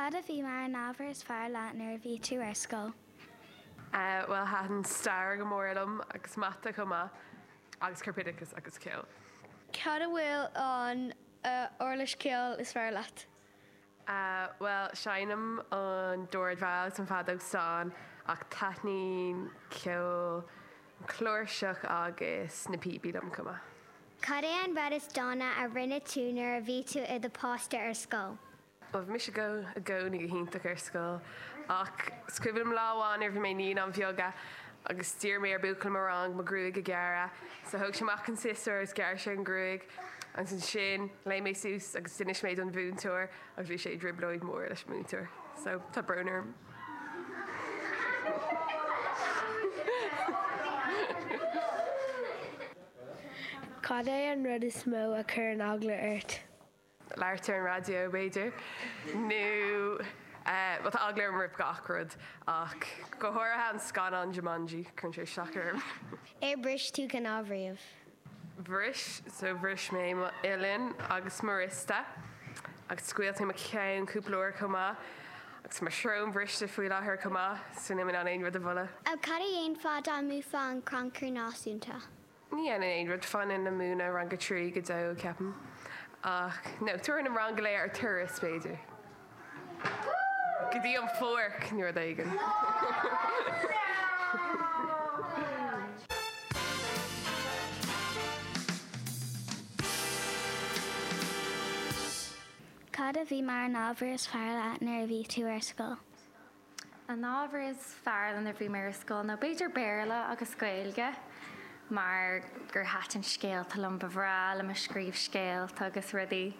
Cad a bhí mar an ábhar is fearr leat nuair a bhí tú ar scoil? Bhuel, thaitin stair go mór liom agus mata chomh maith agus corpoideachas agus ceol. Cad a bhfuil an uirlis ceoil is fearr leat? Bhuel, seinnim an dordveidhil agus an feadóg stáin ach taitníonn ceol an chláirseach agus na píopaí liom chomh maith. Cad é an rud is dána a rinne tú nuair a bhí tú i do pháiste ar scoil? Bhuel, bhí mise i gcónaí go hiontach ar scoil ach is cuimhin liom lá amháin nuair a bhí mé i naíonáin bheaga agus d'iarr mé ar buachaill i mo rang mo ghruaig a ghearradh. So thóg sé amach an siosúr agus ghearr sé an ghruaig agus ansin léim mé suas agus d'inis mé don mhúinteoir agus bhí sé i dtrioblóid mhór leis an múinteoir. So tá brón orm. Cad é an rud is mó a chuireann eagla ort? labhairt ar an raidió, b'fhéidir, nó bhuel tá eagla orm roimh gach rud ach go háirithe an scannán Jumanji, cuireann sé isteach orm. Ar bhris tú cnámh riamh? Bhris, so bhris mé mo uillinn agus mo wriosta agus scoilt mé mo cheann cúpla uair chomh maith agus mo shrón briste faoi láthair chomh maith so níl mé in ann aon rud a mholadh. Cad a dhéanfá dá mbuafá an Crannchur Náisiúnta? Ní dhéanfainn aon rud, fanfainn ag múineadh rang a 3 go deo, ceapaim. Ach, no, tabharfainn an rang go léir ar turas, b'fhéidir. Go dtí an pháirc nó rud éigin. Cad a bhí mar an ábhar is fearr leat nuair a bhí tú ar scoil? An ábhar is fearr liom nuair a bhí mé ar scoil ná b'fhéidir Béarla agus Gaeilge mar gur thaitin scéalta liom, ba bhreá liom a scríobh scéalta agus rudaí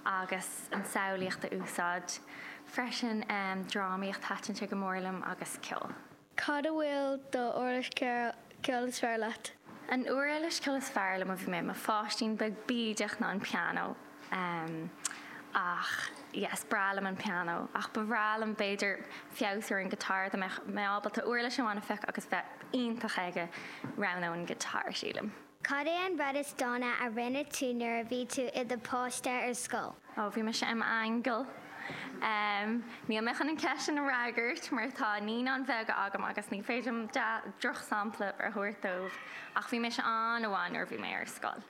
agus an samhlaíocht a úsáid. Freisin drámaíocht, thaitin sé go mór liom agus ceol. Cad a bhfuil do uirlis ceoil is fearr leat? An uirlis ceoil is fearr liom ó bhí mé i mo pháistín beag bídeach ná an pianó. Ach yeah is breá liom an pianó ach ba bhreá liom b'fhéidir feabhsú ar an guitar dá mbeadh mé ábalta uirlis amháin a phiocadh agus bheith iontach aige roghnóinn guitar sílim. Cad é an rud is dána a rinne tú nuair a bhí tú i do pháiste ar scoil? Ó, bhí mise i m'aingeal. Níl mé chun an ceist sin a fhreagairt mar tá naíonáin bheaga agam agus ní féidir liom drochshampla a thabhairt dóibh ach bhí mise an-mhaith nuair a bhí mé ar scoil.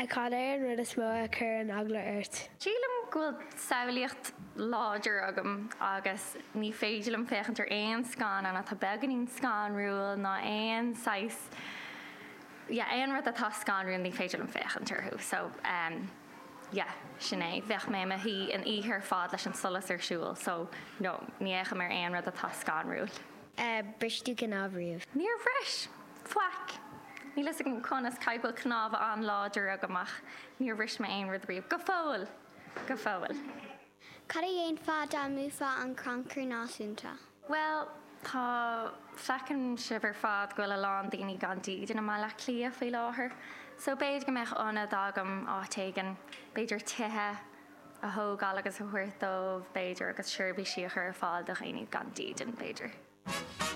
Cad é an rud is mó a chuireann eagla ort? Sílim go bhfuil samhlaíocht láidir agam agus ní féidir liom féachaint ar aon scannán atá beagáinín scanrúil ná aon saghas yeah aon rud atá scanrúil ní féidir liom féachaint orthu so ehm yeah sin é. Bheadh mé i mo shuí an oíche ar fad leis an solas ar siúl so no ní fhéachaim ar aon rud atá scanrúil. Ar bhris tú cnámh riamh? Níor bhris! Faic! Níl fhios agam conas, caithfidh go bhfuil cnámha an-láidir agam ach níor bhris mé aon rud riamh. Go fóill! Go fóill. Cad a dhéanfá dá mbuafá an Crannchur Náisiúnta? Bhuel, tá, feiceann sibh ar fad go bhfuil a lán daoine gan dídean i mBaile Átha Cliath faoi láthair. So b'fhéidir go mbeadh ionad agam áit éigin, b'fhéidir tithe a thógáil agus a thabhairt dóibh, b'fhéidir, agus seirbhísí a chur ar fáil do dhaoine gan dídean, b'fhéidir.